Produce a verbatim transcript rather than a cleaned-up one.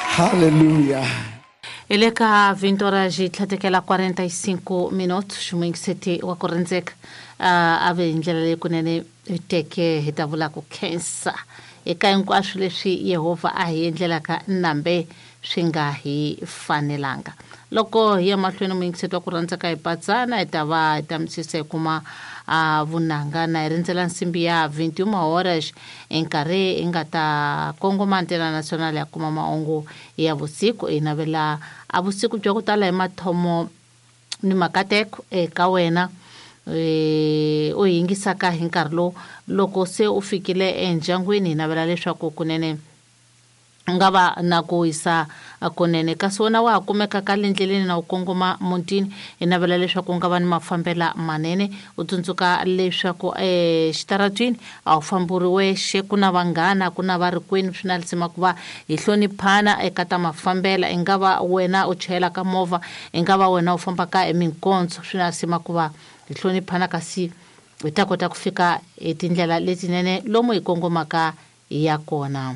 Hallelujah. Hi le ka vinte horas yi tlhatekela quarenta e cinco minutos. Xumuyingiseti wa ku rindzeka, uh, a ve hi ndlela leyi kunene hi teke hi ta vula ku khensa eka hinkwaswo leswi Yehovha a hi endlelaka, nambe swi nga hi fanelanga. Loko hi ya mahlweni, muyingiseti wa ku rhandzaka, hi patsana hi ta va hi ta misisa hi kuma uh, vunanga na hi rindzela nsimbi ya vinte e uma horas, enkarhi hi nga ta kongoma Antena Nacional ya kuma mahungu ya vusiku. Hi navela a vusiku bya ku tala hi mathomo ni makateko eka wena e u yingisaka hi nkarhi lowu. Loko se u fikile endyangwini, hi navela leswaku kunene u nga va na ku wisa kunene, kasi wena wa ha kumeka ka le ndleleni na u kongoma mutini, hi navela leswaku u nga va ni mafambela manene. U tsundzuka leswaku exitaratwini a wu famburi wexe, ku na vanghana, ku na varikwenu. Swi na lisima ku va hi hloniphana eka ta mafambela. I nga va wena u chayelaka movha, i nga va wena u fambaka hi minkondzo, swi na lisima ku va hi hloniphana, kasi hi ta kota ku fika hi tindlela letinene lomu hi kongomaka ya kona.